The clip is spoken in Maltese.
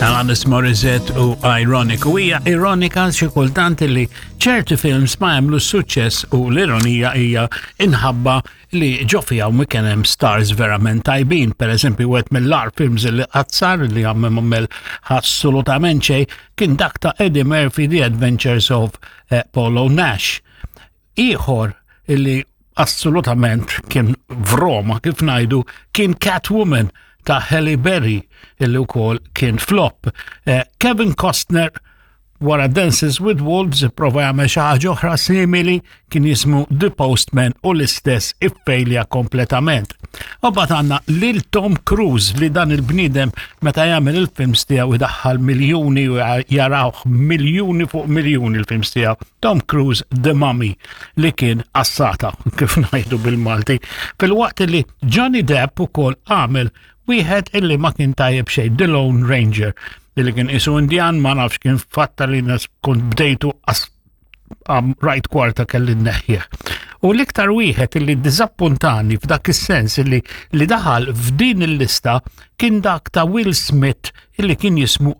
Alanis Morissette u Ironic. U hija ironika xi kultant li ċerti films ma jagħmlu suċċess u l-ironija hija inħabba li ġo fiha u kien hemm stars verament tajbin. Per eżempju, wieħed mill-ar films li qatt sar li għammel għamel assolutament xejn kien dak ta' Eddie Murphy The Adventures of eh, Polo Nash. Ieħor illi assolutament kien vroma kif ngħidu kien Catwoman ta' Halle Berry illi wkoll kien flop. Eh, Kevin Costner wara Dances with Wolves prova jagħmel xi ħaġa oħra simili kien jismu The Postman u l-istess iffejlja kompletament. U bat għandna lil Tom Cruise li dan il-bniedem meta jagħmel il-films tiegħu idaħħal miljuni u jarawh miljuni fuq miljuni l-films tiegħu. Tom Cruise The Mummy li kien assata kif ngħidu bil-Malti. Fil-waqt li Johnny Depp ukoll għamel wieħed illi ma kien tajjeb xejn, The Lone Ranger, illi kien isu Indian ma nafx kien fatta li nas kont bdejtu rajt kwarta kelli neħħieħ. U l-iktar wieħed illi dizappuntani f'dak is-sens illi li daħal f'din il-lista kien dak ta' Will Smith illi kien jismu.